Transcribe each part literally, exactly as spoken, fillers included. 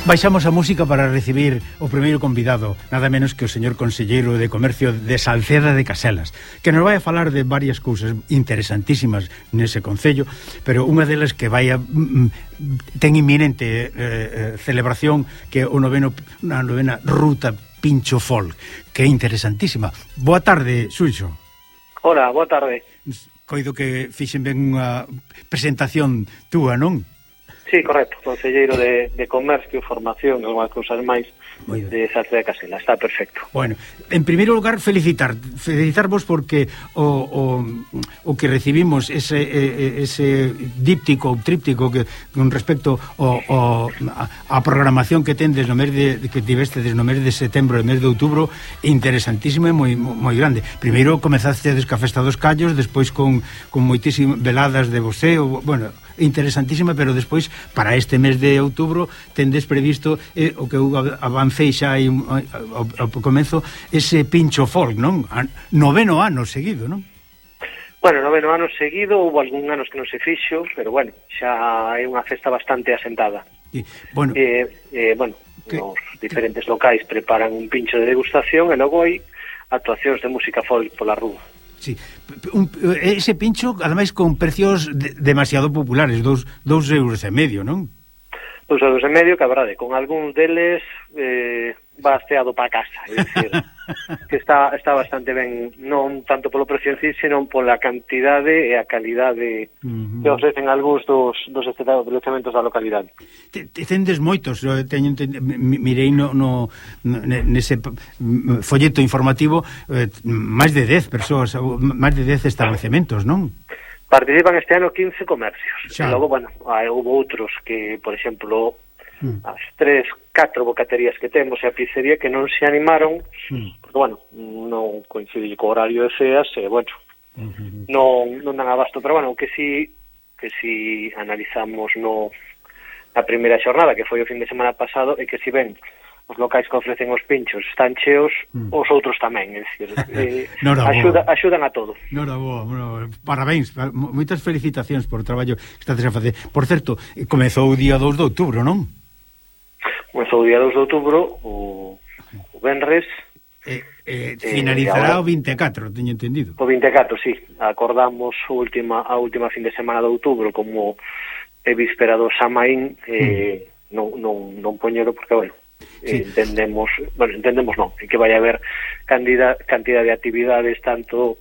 Baixamos a música para recibir o primeiro convidado, nada menos que o señor conselleiro de Comercio de Salceda de Caselas, que nos vai a falar de varias cousas interesantísimas nese concello, pero unha delas que vai a mm, ten inminente eh, eh, celebración, que é o noveno, a novena Ruta Pincho Folk, que é interesantísima. Boa tarde, Xulxo. Hola, boa tarde. Coido que fixen ben unha presentación túa, non? Sí, correcto, conselleiro de, de Comercio, Formación e algunhas cousas máis de Salceda de Caselas, está perfecto. Bueno, en primeiro lugar, felicitar felicitarvos porque o, o, o que recibimos ese, ese díptico ou tríptico que con respecto ao, ao, a programación que tendes no mes de, que tivestedes no mes de setembro e mes de outubro, interesantísimo e moi, moi grande. Primeiro comezastedes ca Festa dos Callos, despois con, con moitísimas veladas de voceo, bueno, interesantísima, pero despois para este mes de outubro tendes previsto eh, o que eu avancei xa aí ao, ao comezo, ese Pincho Folk, non? A, noveno ano seguido, non? Bueno, noveno ano seguido, houve algún anos que non se fixo, pero bueno, xa é unha festa bastante asentada. E, bueno, eh, eh, bueno que, os diferentes locais preparan un pincho de degustación e logo hai actuacións de música folk pola rúa. Sí, un, ese pincho, ademais, con precios de, demasiado populares, dous, dous euros e medio, non? Dous euros e medio, que a verdade, con algúns deles eh, basteado para casa, é dicir, que está, está bastante ben, non tanto polo precio en sí, senón pola cantidade e a calidade uh-huh. que ofrecen algúns dos, dos establecementos da localidade. Te, te tendes moitos, teño mirei no, no, nese folleto informativo, eh, máis de dez persoas, máis de dez establecementos, non? Participan este ano quince comercios. Xa. E logo, bueno, hai, houve outros que, por exemplo, mm. as tres, catro bocaterías que temos e a pizzería que non se animaron, mm. porque, bueno, non coincide co horario de ceas, e, bueno, mm-hmm. non, non dan abasto. Pero, bueno, que si, que si analizamos no a primeira xornada, que foi o fin de semana pasado, e que si ven os locais que ofrecen os pinchos están cheos, mm. os outros tamén, é dicir, eh, axuda, axudan a todo. Nora boa, bueno, parabéns, moitas felicitacións por o traballo que estades a facer. Por certo, comezou o día dous de outubro, non? Comezou o día dous de outubro, o, o venres. Eh, eh, finalizará eh, o vinte e catro, teño entendido. O vinte e catro, sí. Acordamos a última, a última fin de semana de outubro como é víspera do Samaín, eh, mm. non, non, non poñero porque, bueno, sí. entendemos, bueno, entendemos non, que vai haber cantidad, cantidad de actividades tanto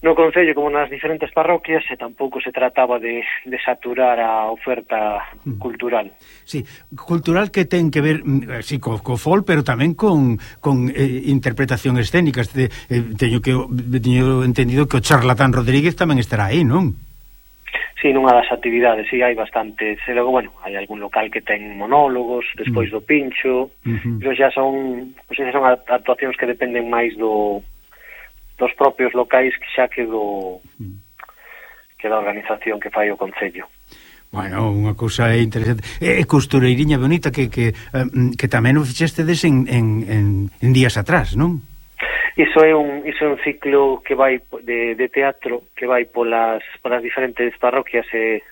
no concello como nas diferentes parroquias, e tampouco se trataba de, de saturar a oferta mm. cultural. Sí, cultural que ten que ver, sí, co, co folk, pero tamén con, con eh, interpretación escénicas. De, eh, teño que teño entendido que o Charlatán Rodríguez tamén estará aí, non? Sí, nunha das actividades, sí, hai bastantes. E logo, bueno, hai algún local que ten monólogos despois mm. do pincho, uh-huh. pero xa son, pues, xa son actuacións que dependen máis do dos propios locais que xa que do mm. que da organización que fai o concello. Bueno, unha cousa interesante. E costureiriña bonita que que, que tamén o fixestedes en, en, en, en días atrás, non? Iso é un iso é un ciclo que vai de, de teatro que vai polas polas diferentes parroquias e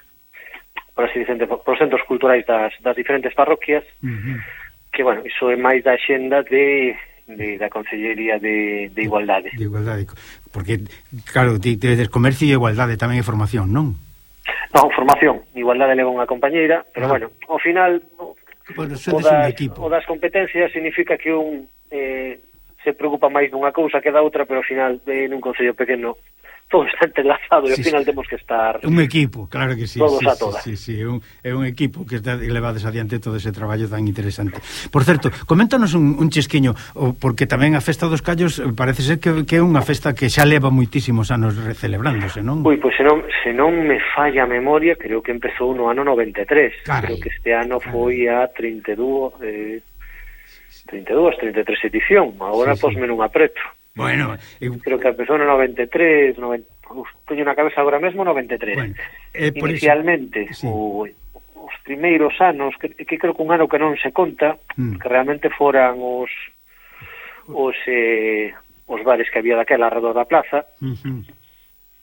polas diferentes polos centros culturais das, das diferentes parroquias. Uh-huh. Que, bueno, iso é máis da xenda de de da Consellería de, de Igualdade. De Igualdade, porque, claro, tedes comercio e igualdade tamén é formación, non? Non, formación, igualdade leva unha compañeira, pero, ah. bueno, ao final bueno, o, das, o das competencias significa que un eh, se preocupa máis dunha cousa que da outra, pero ao final, eh, nun concello pequeno, todo está entrelazado e ao sí, final temos que estar un equipo, claro que sí, todos sí, a todas. Sí, sí, sí, é un, é un equipo que está levades adiante todo ese traballo tan interesante. Por certo, coméntanos un, un chisquiño, porque tamén a Festa dos Callos parece ser que, que é unha festa que xa leva moitísimos anos celebrándose, non? Ui, pois se non, se non me falla a memoria, creo que empezou no ano noventa e tres. Carai, creo que este ano carai. foi a trinta e dúas eh, trinta e dúas, trinta e tres edición. Agora sí, posme sí. nun apreto. Bueno, eu... creo que empezou no noventa e tres, noventa... Uf, teño na cabeza agora mesmo noventa e tres. Bueno, eh, inicialmente, eso... sí. o, os primeiros anos, que, que creo que un ano que non se conta, mm. que realmente foran os os, eh, os bares que había daquela alrededor da plaza, uh-huh.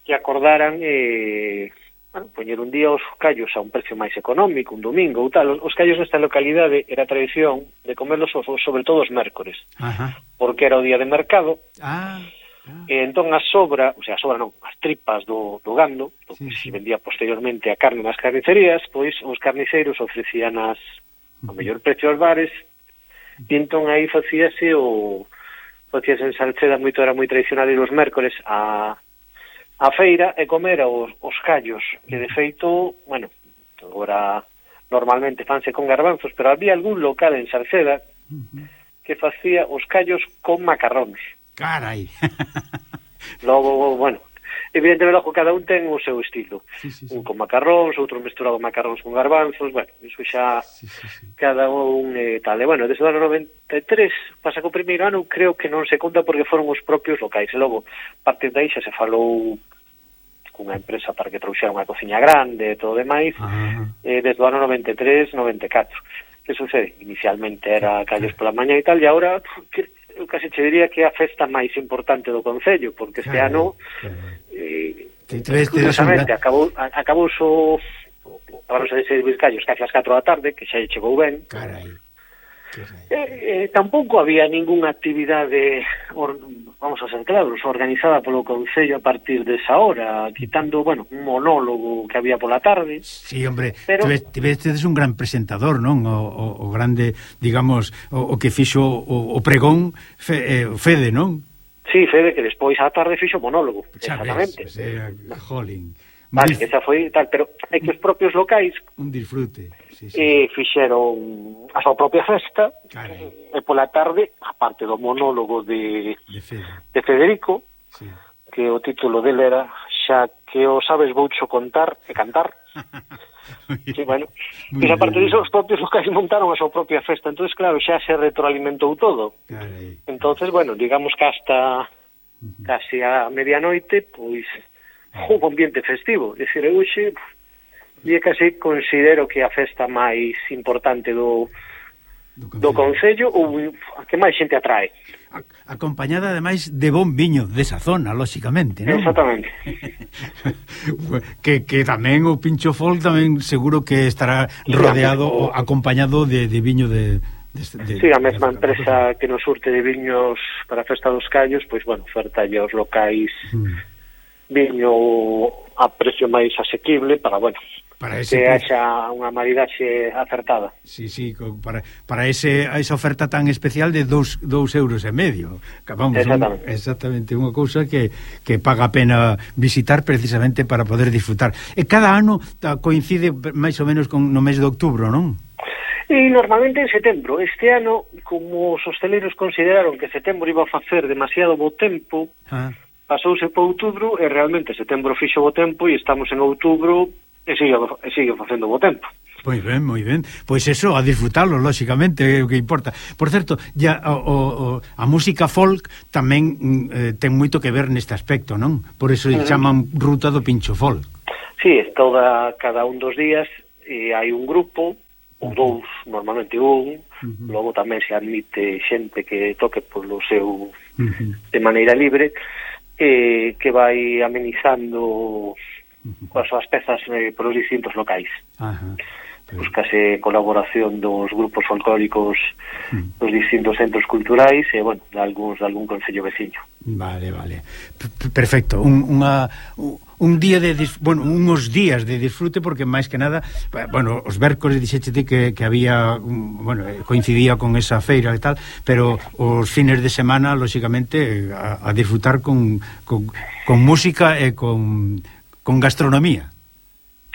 que acordaran eh, bueno, poñer un día os callos a un precio máis económico, un domingo ou tal. Os callos nesta localidade era tradición de comerlos sobre todo os mércores. Ajá. Porque era o día de mercado. Ah, ah. E entón a sobra, o sea, a sobra non, as tripas do, do gando, do sí, que sí. se vendía posteriormente a carne nas carnicerías, pois os carniceiros ofrecían as o mellor precio aos bares, e entón aí facíase o facíase en Salceda, moito era moi tradicional ir os mércores a a feira e comer os, os callos, que de feito, bueno, agora normalmente fanse con garbanzos, pero había algún local en Salceda uh-huh. que facía os callos con macarróns. Carai. Logo, bueno, evidentemente logo cada un ten o seu estilo. Sí, sí, sí. Un con macarróns, outro mesturado macarróns con garbanzos, bueno, iso xa sí, sí, sí. cada un eh, tal. E bueno, desde o ano noventa e tres, pasa que o primeiro ano creo que non se conta porque foron os propios locais. E logo, a partir de aí xa se falou cunha empresa para que trouxera unha cociña grande e todo demais, ah. eh, desde o ano noventa e tres, noventa e catro. Que sucede? Inicialmente era callos pola mañá e tal, e agora eu casi che diría que é a festa máis importante do Concello, porque este ano eh, curiosamente acabou, acabou o agora se servir callos casi ás catro da tarde, que xa chegou ben. Carai. Eh, eh, tampouco había ningunha actividade, or, vamos a ser claros, organizada polo Concello a partir desa hora, quitando, bueno, un monólogo que había pola tarde. Sí, hombre, pero tivestes un gran presentador, non? O, o, o grande, digamos, o, o que fixo o, o pregón, fe, eh, Fede, non? Sí, Fede, que despois á tarde fixo monólogo, xa exactamente. Ves, eh, jolín. Vale, que esa foi tal, pero é que os propios locais un disfrute, sí, sí. Eh, fixeron a súa propia festa. Carai. E pola tarde, aparte do monólogo de, de, Fede. de Federico, sí. que o título dele era Xa que o sabes voucho contar e cantar. Sí, bueno, e a parte disso os propios locais montaron a súa propia festa, entonces claro, xa se retroalimentou todo. Carai. Entonces, bueno, digamos que hasta uh-huh. casi a medianoite, pois un ambiente festivo, é dicir, eu xe e casi considero que a festa máis importante do do Concello ou a que máis xente atrae. Acompañada ademais de bon viño desa zona, lóxicamente, non? Exactamente. que, que tamén o Pincho Folk tamén seguro que estará rodeado, o acompañado de, de viño de, de, de sí, a mesma de empresa que nos surte de viños para a Festa dos Callos, pois, bueno, oferta aos locais mm. viño a precio máis asequible para, bueno, para ese que haxa unha maridaxe acertada. Sí, sí, para, para ese, esa oferta tan especial de dous, dous euros e medio. Vamos, exactamente. Un, exactamente, unha cousa que, que paga a pena visitar precisamente para poder disfrutar. E cada ano coincide máis ou menos con, no mes de outubro, non? E normalmente en setembro. Este ano, como os hosteleiros consideraron que setembro iba a facer demasiado bo tempo, ah. pasouse por outubro e realmente setembro fixo bo tempo e estamos en outubro e sigue, e sigue facendo bo tempo. Moi ben, moi ben. Pois eso, a disfrutarlo, lóxicamente, é o que importa. Por certo, ya o, o, a música folk tamén eh, ten moito que ver neste aspecto, non? Por eso uh-huh. chaman Ruta do Pincho Folk. Sí, é toda, cada un dos días e hai un grupo, ou dous, normalmente un, uh-huh. logo tamén se admite xente que toque polo seu uh-huh. de maneira libre, eh, que vai amenizando uh-huh. coas súas pezas eh, polos distintos locais. Ajá. Uh-huh. Buscase colaboración dos grupos folclóricos uh-huh. dos distintos centros culturais e, bueno, de algúns de algún concello veciño. Vale, vale. P- perfecto. Un, unha, un día de, dis, bueno, unos días de disfrute, porque máis que nada, bueno, os vércoles dixéchete que, que había, bueno, coincidía con esa feira e tal, pero os fines de semana, lóxicamente, a, a disfrutar con, con, con música e con, con gastronomía.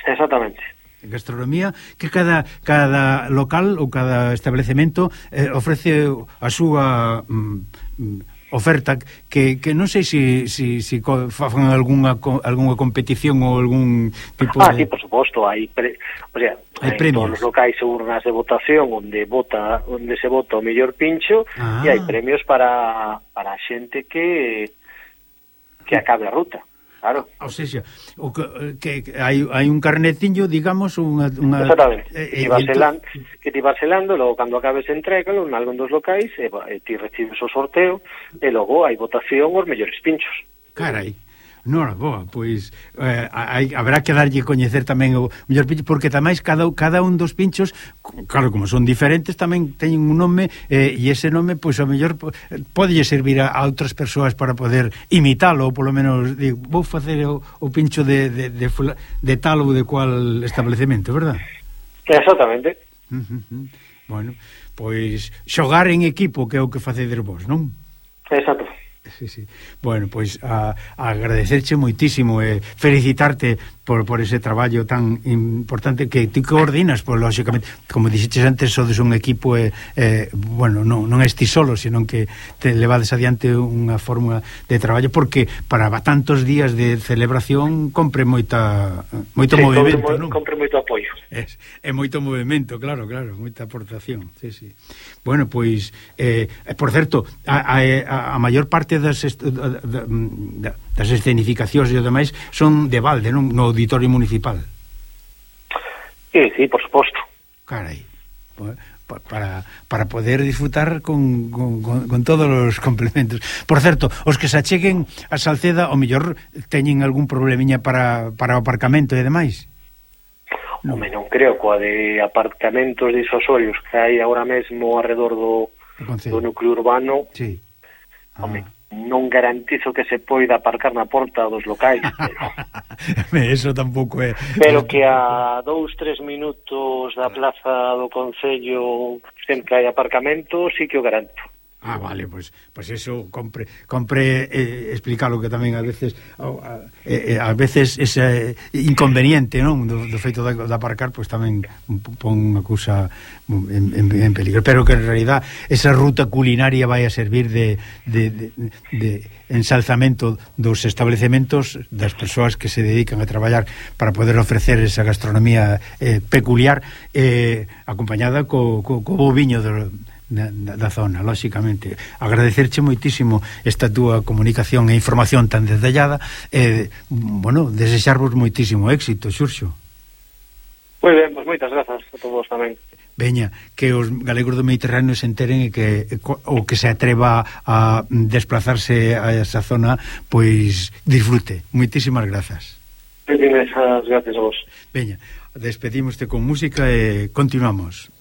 Exactamente. Gastronomía que cada cada local ou cada establecemento eh, ofrece a súa mm, oferta que, que non sei se si, si, si fan algunha, algunha competición ou algún tipo ah, de... sí, por suposto, hai pre... o sea, hai premios. Todos os locais urnas de votación onde vota onde se vota o mellor pincho ah. e hai premios para para a xente que que acabe a ruta. Claro. O sea, o que, que hai, hai un carnetiño, digamos, unha... unha exactamente, eh, eh, selando, que ti vas selando, logo cando acabes entrégalo en algún dos locais, e, e ti recibes o sorteo, e logo hai votación os mellores pinchos. Carai, Nora, boa, pois eh, hai, haberá que darlle coñecer tamén o mellor pincho, porque tamén cada, cada un dos pinchos, claro, como son diferentes, tamén teñen un nome, eh, e ese nome, pois, a mellor podelle servir a, a outras persoas para poder imitalo, ou polo menos, digo, vou facer o, o pincho de, de, de, de tal ou de cual establecemento, verdad? Exactamente. Uh -huh. Bueno, pois xogar en equipo, que é o que facedes vos, non? Exacto. Sí, sí. Bueno, pois a, a agradecerche moitísimo e eh, felicitarte por, por ese traballo tan importante que ti coordinas, pois lógicamente, como dixeches antes, sodes un equipo e, eh, bueno, non, non esti solo, senón que te levades adiante unha fórmula de traballo, porque para tantos días de celebración compre moita moito sí, movimento, compre, non? Compre moito apoio. É, é moito movimento, claro, claro, moita aportación. Sí, sí. Bueno, pois eh, por certo, a, a, a maior parte das est, da, da, das escenificacións e demais son de balde, non? No auditorio municipal. Sí, sí, por suposto. Carai, para, para poder disfrutar con, con, con, con todos os complementos. Por certo, os que se acheguen a Salceda, o mellor teñen algún problemiña para, para o aparcamento e demais? No. Home, non creo, coa de aparcamentos disuasorios que hai agora mesmo alrededor do, do núcleo urbano. Sí. Ah. Home, non garantizo que se poida aparcar na porta dos locais, pero eso tampouco é. Pero que a dous, tres minutos da plaza do Concello sempre hai aparcamento, sí que o garanto. Ah, vale, pois pues, pues eso compre compre eh, explicarlo, que tamén a veces a, eh, a veces ese inconveniente, non, do, do feito de, de aparcar, pois pues, tamén pon unha cousa en, en, en peligro, pero que en realidad esa ruta culinaria vai a servir de, de, de, de ensalzamento dos establecementos, das persoas que se dedican a traballar para poder ofrecer esa gastronomía eh, peculiar, eh, acompañada co, co, co viño do Da, da zona, lógicamente. Agradecerche moitísimo esta túa comunicación e información tan detallada e, bueno, desexarvos moitísimo éxito, Xurxo. Moi ben, pois moitas grazas a todos tamén. Veña, que os galegos do Mediterráneo se enteren e que o que se atreva a desplazarse a esa zona, pois disfrute. Moitísimas grazas. Moitísimas grazas a vos. Veña, despedímoste con música e continuamos.